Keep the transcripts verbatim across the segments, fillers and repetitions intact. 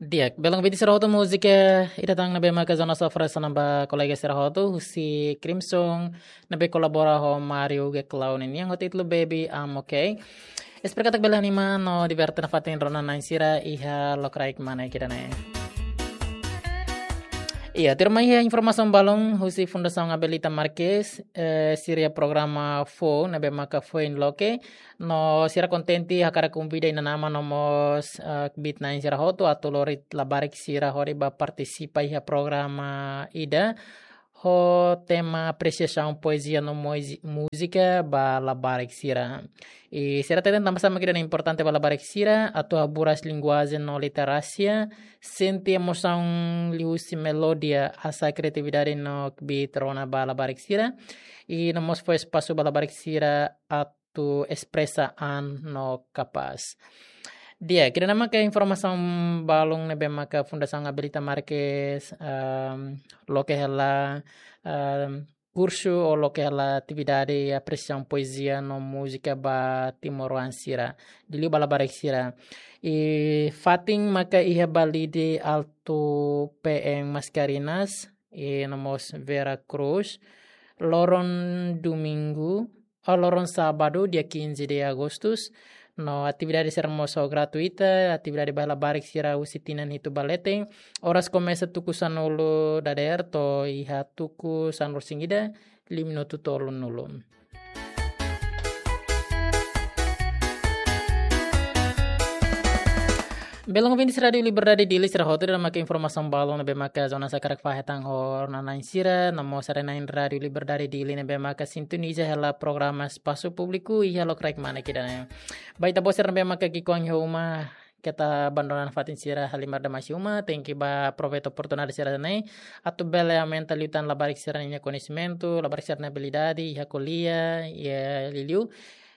Di'ak, belun ouvinte sira hotu, múzika ida tan ne'ebé maka Jonas Alfred hanesan ba kolega sira hotu, husi Crimson, ne'ebé kolabora ho Mario G Clown nian ho títulu Baby I'm Okay. Espera katak bele anima no diverte nafatin rona-na'in sira iha lokraik mane ida-ne'e. Iya, tuirmai iha informasaun balun husi Fundasaun Abelita Marques, eh, sira-nia programa foun, ne'ebé maka Foin Loke, no sira kontente hakarak konvida inan-aman no mós, eh, kbiit-na'in sira hotu atu lori labarik sira hodi bá partisipa iha programa ida ho tema apresiasaun poezia no moizi-, múzika ba labarik sira. I sira hateten tanbasá mak ida-ne'e importante ba labarik sira, atu haburas linguajen no literasia, sente emosaun liuhusi melódia, hasa'e kriatividade no kbiit rona ba labarik sira. I no mós fó espasu ba labarik sira atu espresa an no kapás. Di'ak, ida-ne'e maka informasaun balun ne'ebé maka Fundasaun Abelita Marques, ehm, loke hela, ehm, kursu ou loke hela atividade apresiasaun poezia no múzika ba timoroan sira, liuliu ba labarik sira. I fatin maka iha Balide Alto, P M Mascarenhas, i no mós Vera Cruz, loron domingu, ou loron sábadu, dia quinze de agosto. No atividade sira mós gratuita, atividade ba labarik sira husi tinan hitu ba leten. Oras komesa tuku sanulu dadeer to'o iha tuku sanulu-resin-ida, liu minutu tolunulu. Belun ouvintes Rádio Liberdade Dili sira hotu, ida-ne'e maka informasaun balun ne'ebé maka Jonas hakarak fahe tan ho rona-na'in sira, no mós sira-na'in Rádio Liberdade Dili ne'ebé maka sintoniza hela programa Espasu Públiku iha lokraik mane ida-ne'e. Ba ita-boot sira ne'ebé maka ki'ikoan iha uma, keta abandona nafatin sira halimar demais iha uma, tenke bá aproveita oportunidade sira-ne'e atu bele aumenta liután labarik sira-nia koñesimentu, labarik sira-nia abilidade iha ko'alia, iha liuliu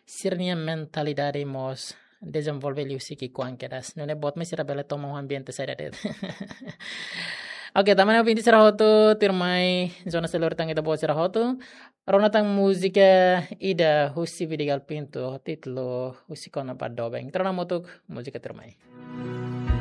sira-nia mentalidade mós dezenvolve liuhusi ki'ikoan kedas. Nune'e boot mak sira bele toman ambiente saida de'it. Oke, tanba ne'e ouvinte sira hotu, tuirmai Jonas sei lori tan ita-boot sira hotu. Rona tan múzika ida husi Vidigal Pinto, títulu Husik Ona ba Doben. Ita rona hamutuk múzika tuirmai.